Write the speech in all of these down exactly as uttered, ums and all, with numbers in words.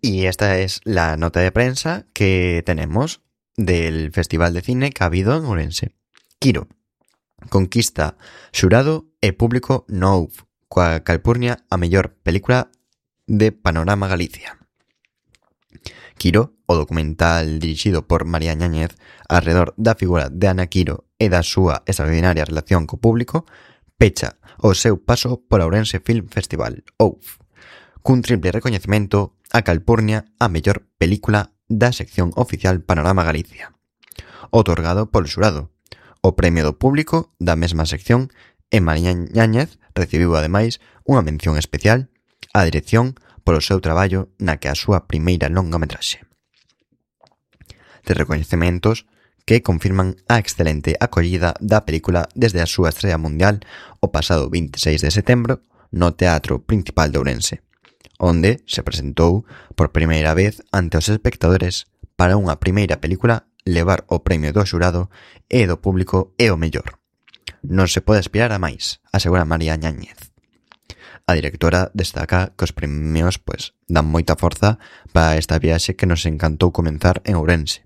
Y esta es la nota de prensa que tenemos del Festival de Cine que ha habido en Ourense. Quiro conquista xurado e público no houve, coa Calpurnia a mellor película de Panorama Galicia. Quiro, o documental dirixido por María Ñáñez alrededor da figura de Ana Quiro e da súa extraordinaria relación co público, pecha o seu paso por Ourense Film Festival, O U F, cun triple recoñecemento a Calpurnia a mellor película da sección oficial Panorama Galicia, otorgado polo xurado. O premio do público da mesma sección e María Ñáñez recibiu ademais unha mención especial á dirección polo seu traballo na que a súa primeira longametraxe. De recoñecementos que confirman a excelente acollida da película desde a súa estrela mundial o pasado vinte e seis de setembro no Teatro Principal de Ourense, onde se presentou por primeira vez ante os espectadores para unha primeira película levar o premio do xurado e do público é o mellor. Non se pode aspirar a máis, asegura María Ñáñez. A directora destaca que os premios pues, dan moita forza para esta viaxe que nos encantou comenzar en Ourense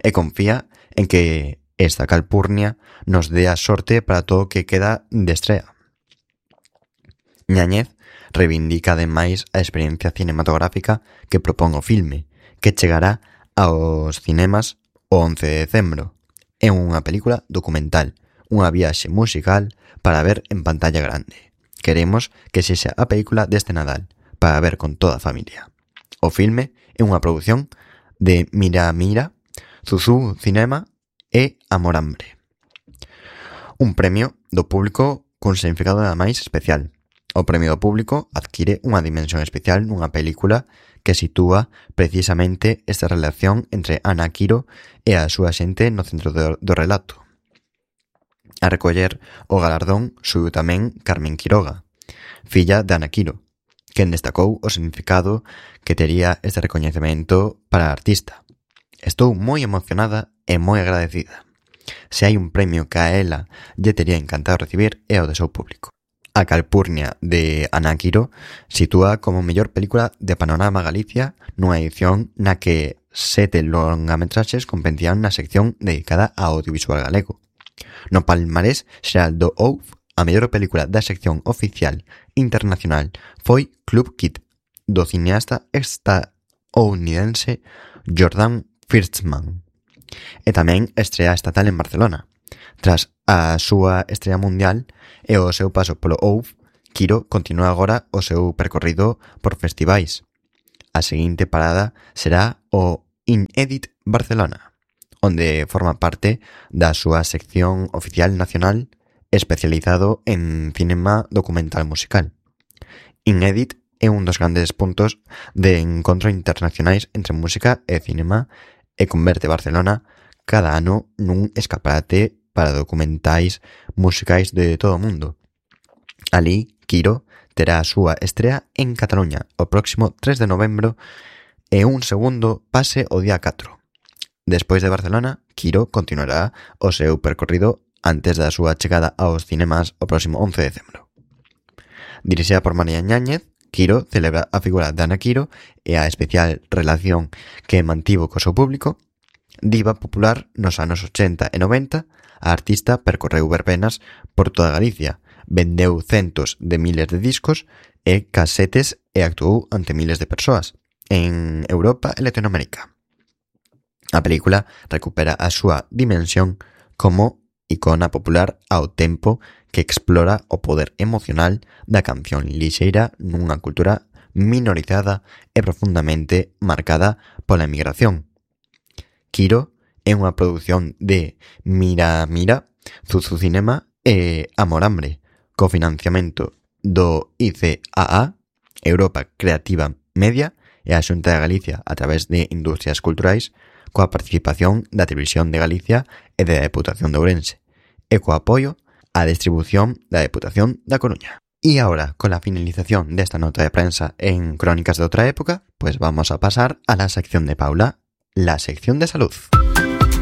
e confía en que esta Calpurnia nos dé a sorte para todo o que queda de estrea. Ñáñez reivindica ademais a experiencia cinematográfica que propón o filme, que chegará aos cinemas o once de decembro. É unha película documental, unha viaxe musical para ver en pantalla grande. Queremos que sexa a película deste Nadal, para ver con toda a familia. O filme é unha produción de Mira Mira, Zuzú Cinema e Amorambre. Un premio do público cun significado nada máis especial. O premio do público adquire unha dimensión especial nunha película que sitúa precisamente esta relación entre Ana Quiro e a súa xente no centro do, do relato. A recoller o galardón subiu tamén Carmen Quiroga, filla de Ana Quiro, quen destacou o significado que tería este recoñecemento para a artista. Estou moi emocionada e moi agradecida. Se hai un premio que a ela lle tería encantado recibir é o de seu público. A Calpurnia de Ana Quiro sitúa como mellor película de Panorama Galicia nunha edición na que sete longametraxes competían na sección dedicada ao audiovisual galego. No palmarés xeral do O U F, a mellor película da sección oficial internacional foi Club Kid, do cineasta estadounidense Jordan Firstman, e tamén estrea estatal en Barcelona. Tras a súa estrela mundial e o seu paso polo O U F, Quiro continúa agora o seu percorrido por festivais. A seguinte parada será o Inedit Barcelona, onde forma parte da súa sección oficial nacional especializado en cinema documental musical. Inedit é un dos grandes puntos de encontro internacionais entre música e cinema e converte Barcelona cada ano nun escaparate para documentais musicais de todo o mundo. Alí, Quiro terá a súa estrea en Cataluña o próximo tres de novembro e un segundo pase o día catro. Despois de Barcelona, Quiro continuará o seu percorrido antes da súa chegada aos cinemas o próximo once de decembro. Dirixida por María Ñáñez, Quiro celebra a figura de Ana Quiro e a especial relación que mantivo co seu público. Diva popular nos anos ochenta e noventa, a artista percorreu verbenas por toda Galicia, vendeu centos de miles de discos e casetes e actuou ante miles de persoas en Europa e Latinoamérica. A película recupera a súa dimensión como icona popular ao tempo que explora o poder emocional da canción lixeira nunha cultura minorizada e profundamente marcada pola emigración. Quiro é unha produción de Mira Mira, Zuzú Cinema e Amorambre, co financiamento do I C A A, Europa Creativa Media e a Xunta de Galicia a través de Industrias Culturais, coa participación da Televisión de Galicia e da Deputación de Ourense, e co apoio á distribución da Deputación da Coruña. Y ahora, con la finalización de esta nota de prensa en Crónicas de otra época, pues vamos a pasar a la sección de Paula, la sección de salud.